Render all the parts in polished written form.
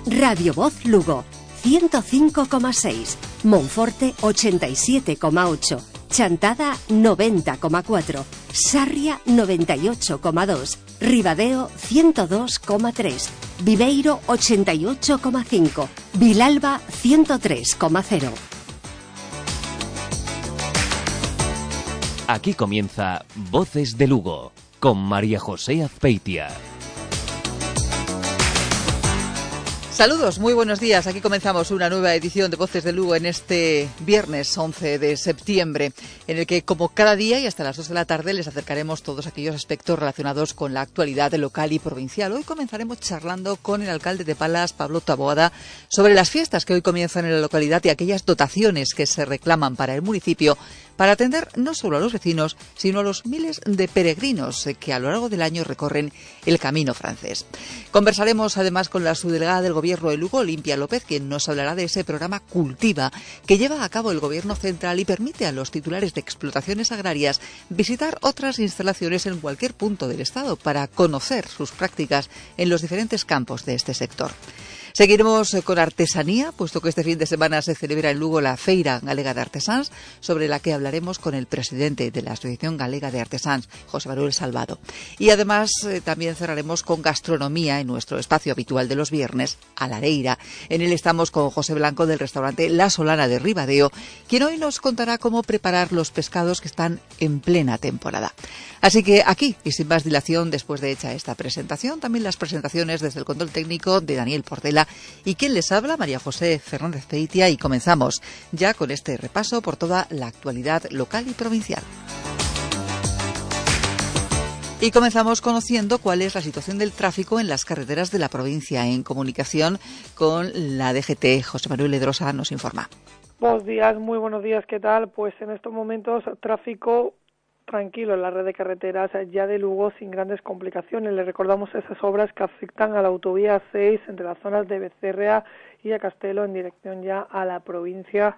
Radio Voz Lugo 105,6, Monforte 87,8, Chantada 90,4, Sarria 98,2, Ribadeo 102,3, Viveiro 88,5, Vilalba 103,0. Aquí comienza Voces de Lugo con María José Azpeitia. Saludos, muy buenos días. Aquí comenzamos una nueva edición de Voces de Lugo en este viernes 11 de septiembre, en el que, como cada día y hasta las 2 de la tarde, les acercaremos todos aquellos aspectos relacionados con la actualidad local y provincial. Hoy comenzaremos charlando con el alcalde de Palas, Pablo Taboada, sobre las fiestas que hoy comienzan en la localidad y aquellas dotaciones que se reclaman para el municipio para atender no solo a los vecinos, sino a los miles de peregrinos que a lo largo del año recorren el camino francés. Conversaremos además con la subdelegada del Gobierno de Lugo, Olimpia López, quien nos hablará de ese programa Cultiva que lleva a cabo el Gobierno central y permite a los titulares de explotaciones agrarias visitar otras instalaciones en cualquier punto del Estado para conocer sus prácticas en los diferentes campos de este sector. Seguiremos con artesanía, puesto que este fin de semana se celebra en Lugo la Feira Galega de Artesans, sobre la que hablaremos con el presidente de la Asociación Galega de Artesans, José Manuel Salvado. Y además también cerraremos con gastronomía en nuestro espacio habitual de los viernes, a la Areira. En él estamos con José Blanco del restaurante La Solana de Ribadeo, quien hoy nos contará cómo preparar los pescados que están en plena temporada. Así que aquí, y sin más dilación, después de hecha esta presentación, también las presentaciones desde el control técnico de Daniel Portela y quien les habla, María José Fernández Peitia, y comenzamos ya con este repaso por toda la actualidad local y provincial. Y comenzamos conociendo cuál es la situación del tráfico en las carreteras de la provincia. En comunicación con la DGT, José Manuel Ledrosa nos informa. Buenos días, muy buenos días, ¿qué tal? Pues en estos momentos tráfico tranquilo en la red de carreteras ya de Lugo sin grandes complicaciones. Le recordamos esas obras que afectan a la autovía 6 entre las zonas de Becerrea y a Castelo en dirección ya a la provincia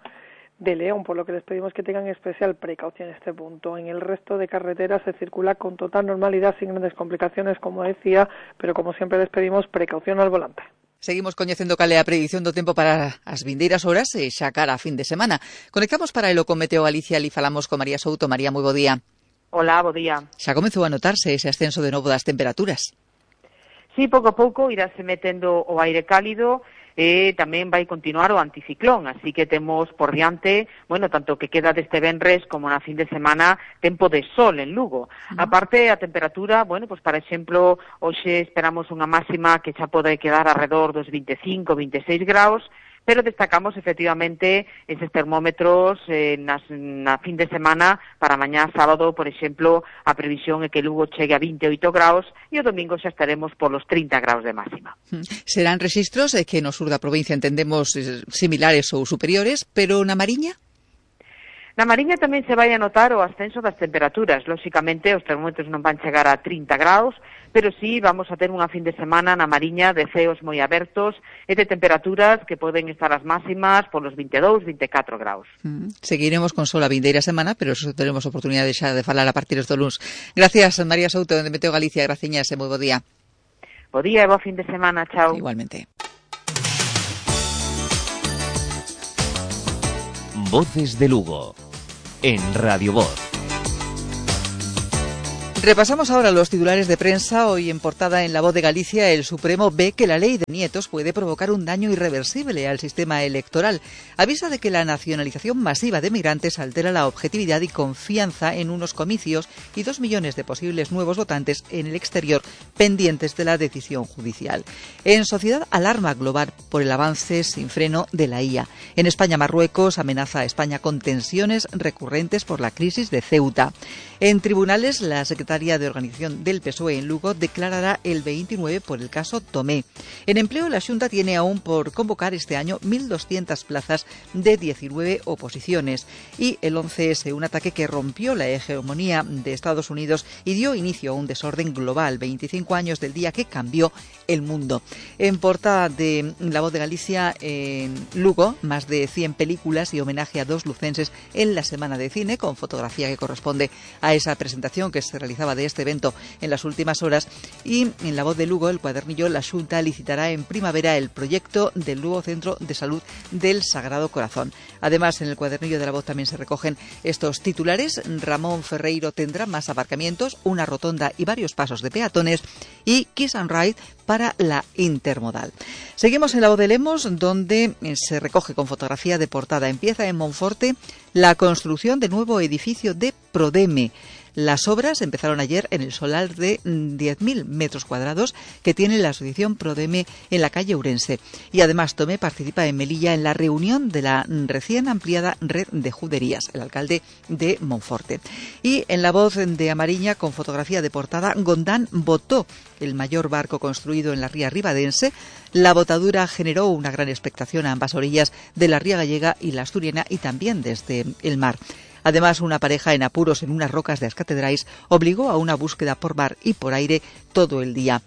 de León, por lo que les pedimos que tengan especial precaución en este punto. En el resto de carreteras se circula con total normalidad sin grandes complicaciones, como decía, pero como siempre les pedimos precaución al volante. Seguimos coñecendo cal é a predición do tempo para as vindeiras horas e xa cara a fin de semana. Conectamos para elo con Meteo Galicia e falamos con María Souto. María, moi bo día. Hola, bo día. Xa comezou a notarse ese ascenso de novo das temperaturas? Sí, pouco a pouco irase metendo o aire cálido e tamén vai continuar o anticiclón, así que temos por diante, bueno, tanto que queda deste venres como na fin de semana, tempo de sol en Lugo. Aparte, a temperatura, bueno, pues para exemplo, hoxe esperamos unha máxima que xa pode quedar alrededor dos 25, 26 graus, pero destacamos efectivamente eses termómetros na fin de semana para mañá sábado, por exemplo, a previsión é que Lugo chegue a 28 graus e o domingo xa estaremos polos 30 graus de máxima. Serán rexistros que no sur da provincia entendemos similares ou superiores, pero na Mariña? Na Mariña tamén se vai a notar o ascenso das temperaturas. Lóxicamente, os termómetros non van chegar a 30 graus, pero sí vamos a ter unha fin de semana na Mariña de ceos moi abertos e de temperaturas que poden estar as máximas polos 22, 24 graus. Seguiremos con sol a vindeira semana, pero eso teremos oportunidade xa de falar a partir do luns. Gracias, María Souto, de Meteo Galicia. Graciñas e moi bo día. Bo día e bo fin de semana. Chao. Igualmente. Voces de Lugo en Radio Voz. Repasamos ahora los titulares de prensa. Hoy en portada en La Voz de Galicia, el Supremo ve que la ley de nietos puede provocar un daño irreversible al sistema electoral. Avisa de que la nacionalización masiva de migrantes altera la objetividad y confianza en unos comicios y 2 millones de posibles nuevos votantes en el exterior pendientes de la decisión judicial. En Sociedad, alarma global por el avance sin freno de la IA. En España, Marruecos amenaza a España con tensiones recurrentes por la crisis de Ceuta. En tribunales, la secretaria de Organización del PSOE en Lugo declarará el 29 por el caso Tomé. En empleo, la Xunta tiene aún por convocar este año 1.200 plazas de 19 oposiciones. Y el 11S, un ataque que rompió la hegemonía de Estados Unidos y dio inicio a un desorden global, 25 años del día que cambió el mundo. En portada de La Voz de Galicia, en Lugo, más de 100 películas y homenaje a 2 lucenses en la Semana de Cine, con fotografía que corresponde a esa presentación que se realizaba de este evento en las últimas horas. Y en La Voz de Lugo, el cuadernillo, la Xunta licitará en primavera el proyecto del nuevo Centro de Salud del Sagrado Corazón. Además, en el cuadernillo de La Voz también se recogen estos titulares. Ramón Ferreiro tendrá más aparcamientos, una rotonda y varios pasos de peatones, y Kiss and Ride para la intermodal. Seguimos en La Voz de Lemos, donde se recoge con fotografía de portada. Empieza en Monforte la construcción del nuevo edificio de Prodeme. Las obras empezaron ayer en el solar de 10.000 metros cuadrados que tiene la asociación Prodeme en la calle Ourense. Y además Tomé participa en Melilla en la reunión de la recién ampliada red de juderías, el alcalde de Monforte. Y en La Voz de Amariña, con fotografía de portada, Gondán botó el mayor barco construido en la ría ribadense. La botadura generó una gran expectación a ambas orillas de la ría gallega y la asturiana, y también desde el mar. Además, una pareja en apuros en unas rocas de las Catedrais obligó a una búsqueda por mar y por aire todo el día.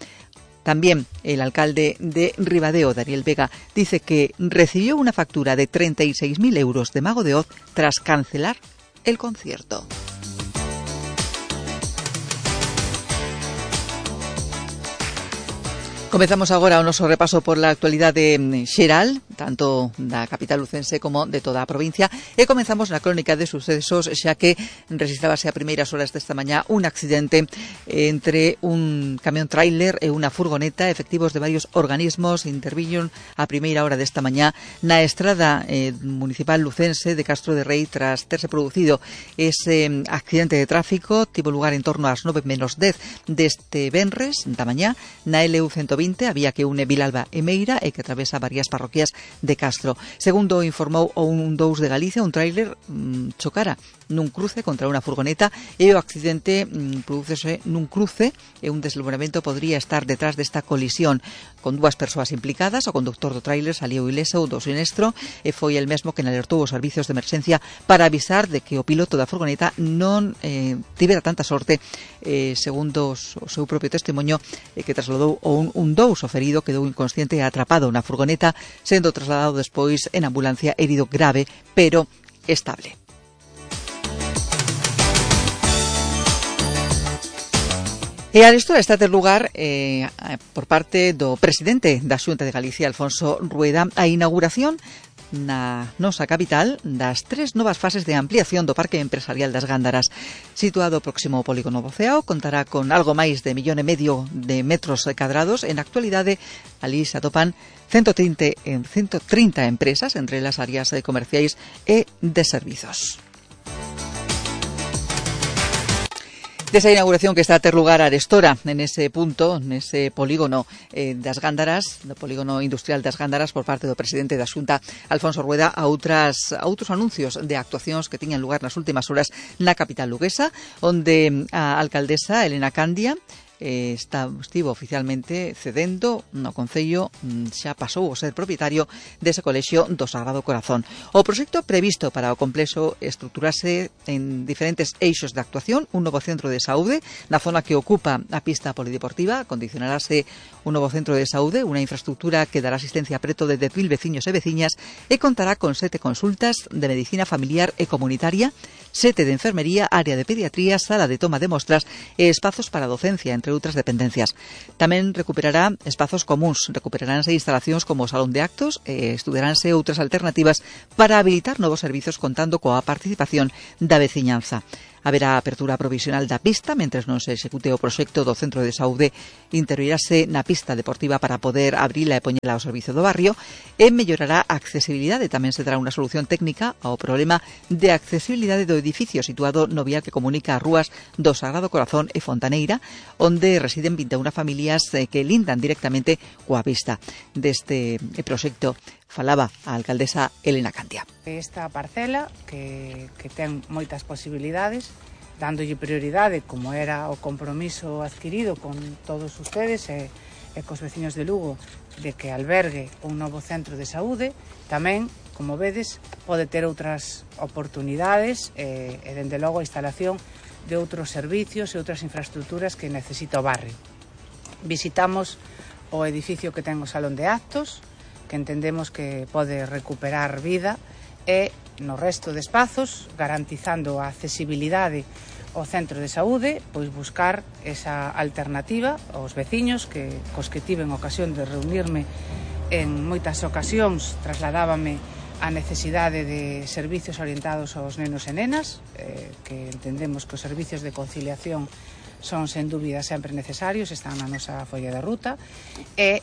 También el alcalde de Ribadeo, Daniel Vega, dice que recibió una factura de 36.000 euros de Mago de Oz tras cancelar el concierto. Comezamos agora o noso repaso por la actualidade xeral, tanto da capital lucense como de toda a provincia, e comezamos na crónica de sucesos, xa que rexistrábase a primeiras horas desta mañá un accidente entre un camión tráiler e unha furgoneta. Efectivos de varios organismos interviñon a primeira hora desta mañá na estrada municipal lucense de Castro de Rei tras terse producido ese accidente de tráfico. Tivo lugar en torno ás 9:10 deste venres da mañá na LU 120, había que une Vilalba e Meira e que atravesa varias parroquias de Castro. Segundo informou o 112 de Galicia, un tráiler chocara nun cruce contra unha furgoneta e o accidente prodúcese nun cruce e un deslumbramento podría estar detrás desta colisión. Con dúas persoas implicadas, o conductor do tráiler saliu ileso do sinestro e foi el mesmo que alertou os servicios de emerxencia para avisar de que o piloto da furgoneta non tivera tanta sorte, segundo o seu propio testemunho, que trasladou un dous, o ferido quedou inconsciente e atrapado na furgoneta, sendo trasladado despois en ambulancia herido grave, pero estable. E a arestora está a ter lugar por parte do presidente da Xunta de Galicia, Alfonso Rueda, a inauguración na nosa capital das 3 novas fases de ampliación do Parque Empresarial das Gándaras. Situado próximo ao Polígono do Ceao, contará con algo máis de 1,5 millón de metros cadrados. En actualidade, ali se atopan 130 empresas, entre as áreas comerciais e de servizos. Desa inauguración que está a ter lugar a arestora en ese punto, nese polígono das Gándaras, do polígono industrial das Gándaras, por parte do presidente da Xunta, Alfonso Rueda, a outros anuncios de actuacións que tiñan lugar nas últimas horas na capital luguesa, onde a alcaldesa Elena Candia estivo oficialmente cedendo no Concello, xa pasou a ser propietario dese colexio do Sagrado Corazón. O proxecto previsto para o complexo estruturase en diferentes eixos de actuación: un novo centro de saúde na zona que ocupa a pista polideportiva, condicionarase un novo centro de saúde, unha infraestructura que dará asistencia a preto de 10.000 veciños e veciñas e contará con 7 consultas de medicina familiar e comunitaria, 7 de enfermería, área de pediatría, sala de toma de mostras e espazos para docencia, entre outras dependencias. Tamén recuperará espazos comuns, recuperaránse instalacións como o salón de actos e estudaránse outras alternativas para habilitar novos servizos contando coa participación da veciñanza. Haberá apertura provisional da pista mentres non se execute o proxecto do centro de saúde. Interiorirase na pista deportiva para poder abrila e poñela ao servizo do barrio e mellorará a accesibilidade. Tamén se dará unha solución técnica ao problema de accesibilidade do edificio situado no vial que comunica as rúas do Sagrado Corazón e Fontaneira, onde residen 21 familias que lindan directamente coa pista. Deste proxecto falaba a alcaldesa Elena Candia. Esta parcela que ten moitas posibilidades, dándolle prioridade, como era o compromiso adquirido con todos ustedes e cos veciños de Lugo, de que albergue un novo centro de saúde. Tamén, como vedes, pode ter outras oportunidades e dende logo a instalación de outros servicios e outras infraestructuras que necesita o barrio. Visitamos o edificio que ten o salón de actos, que entendemos que pode recuperar vida, e no resto de espazos, garantizando a accesibilidade o centro de saúde, pois buscar esa alternativa aos veciños cos que tiven ocasión de reunirme en moitas ocasións. Trasladábame a necesidade de servicios orientados aos nenos e nenas, que entendemos que os servicios de conciliación son sen dúbida sempre necesarios, están na nosa folla de ruta, e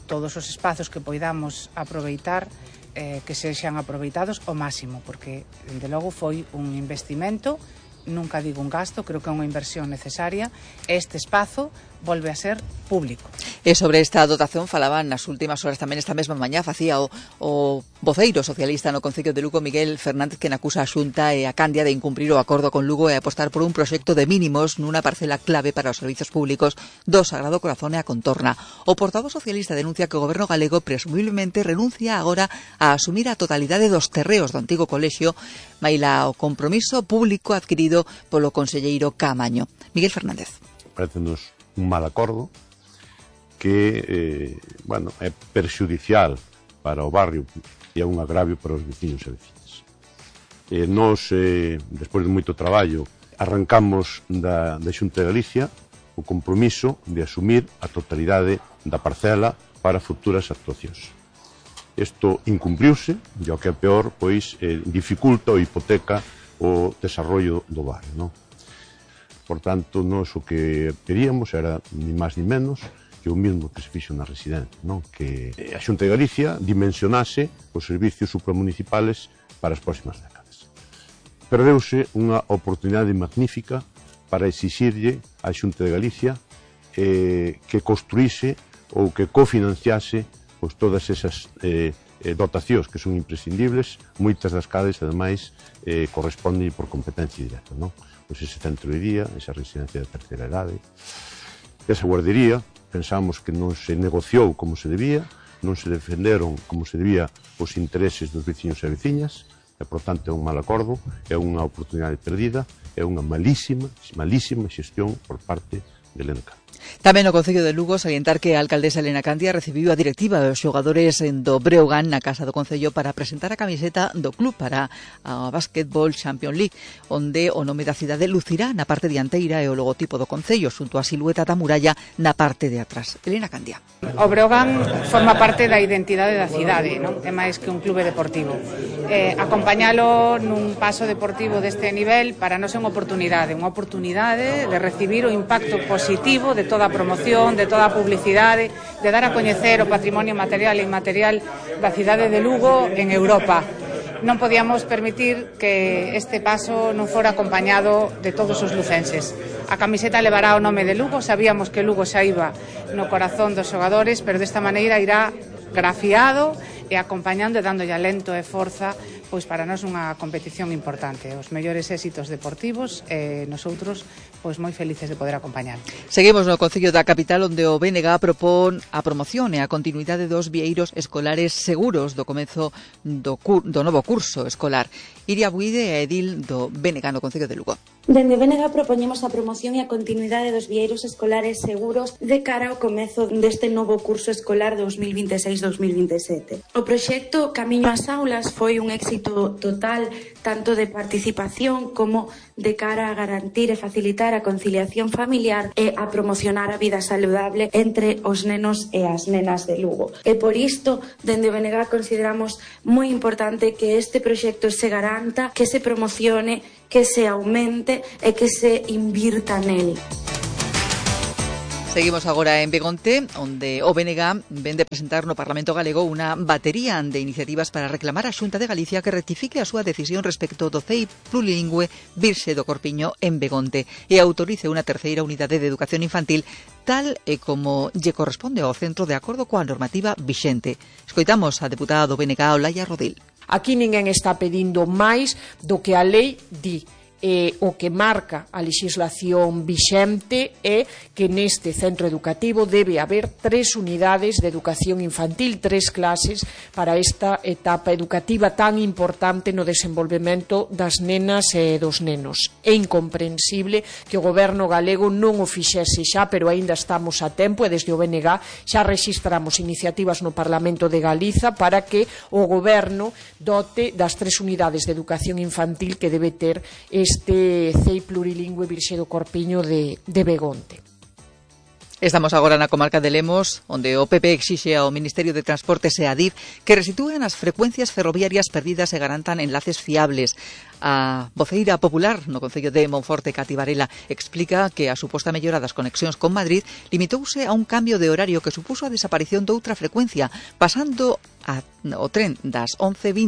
todos os espazos que poidamos aproveitar que sexan aproveitados ao máximo, porque, dende logo, foi un investimento, nunca digo un gasto, creo que é unha inversión necesaria. Este espazo volve a ser público. E sobre esta dotación falaban nas últimas horas tamén esta mesma mañá, facía o voceiro socialista no Concello de Lugo, Miguel Fernández, que acusa a Xunta e a Candia de incumprir o acordo con Lugo e apostar por un proxecto de mínimos nunha parcela clave para os servizos públicos do Sagrado Corazón e a contorna. O portavoz socialista denuncia que o goberno galego presumiblemente renuncia agora a asumir a totalidade dos terreos do antigo colexio, maila o compromiso público adquirido polo conselleiro Caamaño. Miguel Fernández. Parécenos un mal acordo que é perxudicial para o barrio e é un agravio para os veciños e veciñas. Nos, despois de moito traballo, arrancamos da Xunta de Galicia o compromiso de asumir a totalidade da parcela para futuras actuacións. Isto incumpliuse, e o que é peor, pois dificulta ou hipoteca o desarrollo do barrio, non? Por tanto, nós o que pedíamos era, ni máis ni menos, que o mismo que se fixo na residencia, non? Que a Xunta de Galicia dimensionase os servicios supramunicipales para as próximas décadas. Perdeuse unha oportunidade magnífica para exixirlle á Xunta de Galicia que construíse ou que cofinanciase pois, todas esas dotacións que son imprescindibles, moitas das cales, ademais, corresponden por competencia directa, non? Pois ese centro de día, esa residencia de terceira idade, esa guardería, pensamos que non se negociou como se debía, non se defenderon como se debía os intereses dos veciños e veciñas, e, por tanto, é un mal acordo, é unha oportunidade perdida, é unha malísima xestión por parte de Elena Candia. Tamén no Concello de Lugo salientar que a alcaldesa Elena Candia recibiu a directiva dos xogadores do Breogán na Casa do Concello para presentar a camiseta do club para a Basketball Champions League, onde o nome da cidade lucirá na parte dianteira e o logotipo do Concello xunto á silueta da muralla na parte de atrás. Elena Candia. O Breogán forma parte da identidade da cidade, non? É máis que un clube deportivo. Acompañalo nun paso deportivo deste nivel para nós é unha oportunidade de recibir o impacto positivo de toda a promoción, de toda a publicidade, de dar a coñecer o patrimonio material e inmaterial da cidade de Lugo en Europa. Non podíamos permitir que este paso non fora acompañado de todos os lucenses. A camiseta levará o nome de Lugo, sabíamos que Lugo xa iba no corazón dos xogadores, pero desta maneira irá grafiado e acompañando e dándolle alento e forza pois para nós unha competición importante, os mellores éxitos deportivos e nosoutros pois moi felices de poder acompañar. Seguimos no Concello da Capital, onde o BNG propón a promoción e a continuidade dos vieiros escolares seguros do comezo do novo curso escolar. Iria Buide é edil do BNG no Concello de Lugo. Dende BNG propoñemos a promoción e a continuidade dos vieiros escolares seguros de cara ao comezo deste novo curso escolar 2026-2027. O proxecto Camiño ás Aulas foi un éxito total tanto de participación como de cara a garantir e facilitar a conciliación familiar e a promocionar a vida saludable entre os nenos e as nenas de Lugo. E por isto, dende BNG consideramos moi importante que este proxecto se garanta, que se promocione, que se aumente e que se invirta nel. Seguimos agora en Begonte, onde o BNG ven de presentar no Parlamento Galego unha batería de iniciativas para reclamar á Xunta de Galicia que rectifique a súa decisión respecto do CEI plurilingüe Virxe do Corpiño en Begonte e autorice unha terceira unidade de educación infantil tal e como lle corresponde ao centro de acordo coa normativa vixente. Escoitamos a deputada do BNG, Olaya Rodil. Aquí ninguén está pedindo máis do que a lei di. O que marca a legislación vixente é que neste centro educativo debe haber 3 unidades de educación infantil, 3 clases para esta etapa educativa tan importante no desenvolvemento das nenas e dos nenos. É incomprensible que o goberno galego non o fixese xa, pero aínda estamos a tempo e desde o BNG xa rexistramos iniciativas no Parlamento de Galiza para que o goberno dote das 3 unidades de educación infantil que debe ter neste CEI plurilingüe Virxe do Corpiño de Begonte. Estamos agora na comarca de Lemos, onde o PP exixe ao Ministerio de Transportes e a DIF que restitúen as frecuencias ferroviarias perdidas e garantan enlaces fiables. A voceira popular no Concello de Monforte, Cati Varela, explica que a suposta mellora das conexións con Madrid limitouse a un cambio de horario que supuso a desaparición doutra frecuencia, pasando o tren das 11:20